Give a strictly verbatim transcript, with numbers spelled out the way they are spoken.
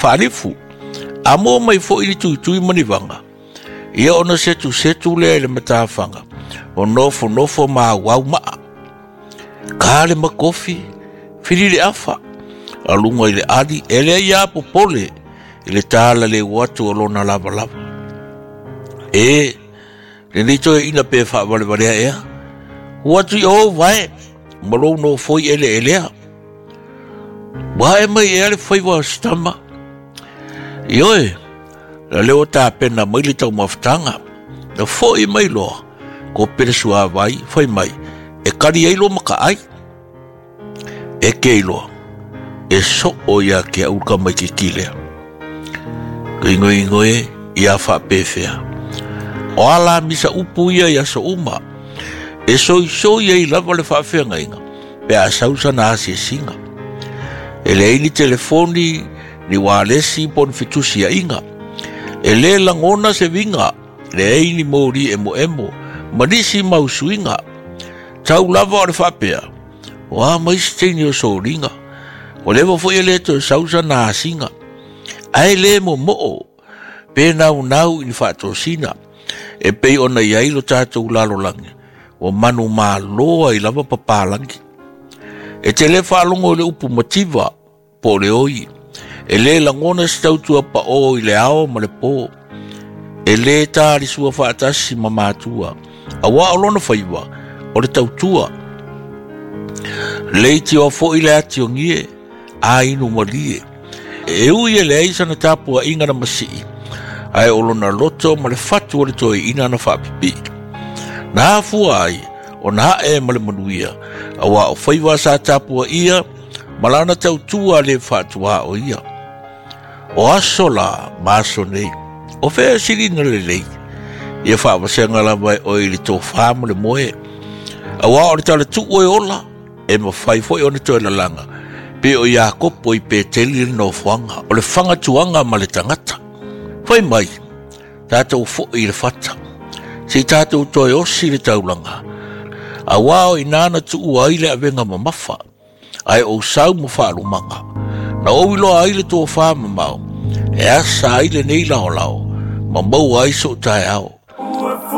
Faalifu, a maua mai foi ni tuitui ma ni vaga, ia ona setusetu lea i le matafaga, o nofonofo ma auau maa. Ka le makofi, fili le afa, aluga i le ali, e leai a popole i le talaleu atu o lona lavalava. E, lenei toeaina pe faavalevalea ea, ua atu i o vae, ma lou nofoi eleelea. Ua ae mai ea le faiva o se tama. Ioe, la lea ua tapena mai le taumafataga. Na foi mai loa, kope le suavai, fai mai, e kali ai lo makaai. E ke iloa, e soo ia ke au ka mai kiki lea. Ingoingoe ia faapefea. O ala misa upu ia ia so uma. E soisoi ai lava le faafeagaiga pe a sau sana asiasiga. E leai ni telefoni, ni ualesi po o ni fetusiaiga. E lē lagona se viga, leai ni moli emoemo, ma nisi mau suiga. Tau lava o le faapea, o a mai se teine o soliga. O leva foi e lē toe sau sana asiga. Ae lē momoo, pe naunau i ni faatosina, e pei ona i ai lo tatou lalolagi, ua manumalo ai lava papalagi. E te lē faalogo i le upu mativa, po o le oi. E lē lagona se tautua paʻō i le ao ma le pō. E lē talisua faatasi ma matua, auā o lona faiva, o le tautua. Leitioa foi le atiogie, a inu malie. E ui e leai sana tapuaʻiga na masii, ae o lona loto ma le fatu o le toeaina na faapipii. Na afua ai, ona ae ma le manuia, auā o faiva sa tapuaʻia, ma lana tautua le faatuā o ia. O aso la, ma aso nei, o fea silina lelei, ia faavasega lava e oe i le tofā ma le moe. Auā o le talatuu e ola, e mafai foi ona toe lalaga, pe o Iakopo i Peteli le nofoaga, o le fagatuaga ma le tagata. Fai mai, tatou foi i le fata, se i tatou toe osi le taulaga, auā o inā na tuua ai le avega mamafa, ae ou sau ma faalumaga. Na ou iloa ai le tofā mamao, e asa ai lenei laolao, ma maua ai sou taeao.